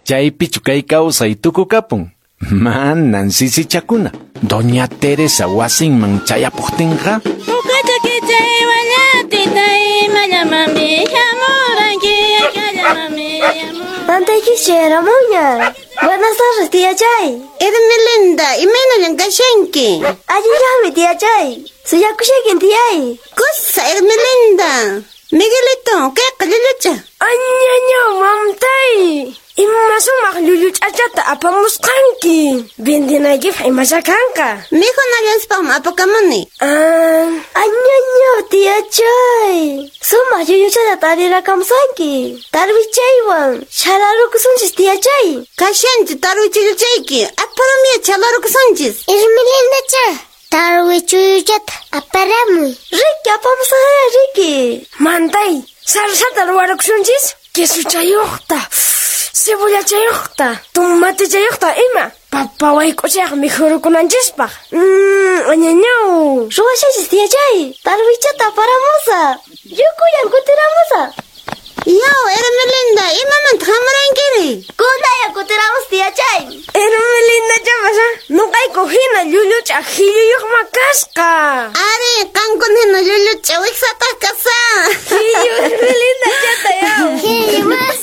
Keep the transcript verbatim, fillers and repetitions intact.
Chaypichu kay kawsay tukukapun. Manan sisichakuna. Doña Teresa wasinman chayapuqtinqa Mantaykish chayaramunña. Buenas tardes, tía Chay. Hermelinda, imaynallan kashanki? Allillanmi, tía Chay. Suyakushaykin, tiyay. Kusa, Hermelinda. Miguelito, kayqa llullucha. Añañaw, mamtay. Ima sumaq llulluch'achata apamusqanki. Vendinaykipaq imasha kanqa. Mikhunallanspaqmi apakamuni. Ah, Añañaw, tía Chay. Sumaq llulluchata tarirakamusanki. Tarwichaywan chhalarukusunchis, tía Chay. Kashanchu tarwichilluchayki. Aparamia chhalarukusunchis. Hermelindacha, tarwichuyuchata aparamuy. Riki, apamusaqya, Riki. Mantay, sarsata ruwarukusunchis? Quesuchayuqta, cebollachayuqta, tomatechayuqta ima. Papa wayk'uchayaq mikhurukunanchispaq. Mmm, añañaw. Ruwashanchis, tía Chay. Tarwichata aparamusaq. Yukuyan kutiramusaq. Yaw, Hermelinda, imamanta hamurankiri? Kunaya kutiramus, tía Chay. Hermelinda chapasha, nuqayku hina llulluch'a hilluyuqma kasqa. Ari, qankuna hina llulluch'a wiksataq kasa. Hillu Hermelinda chata yaw. Hillu.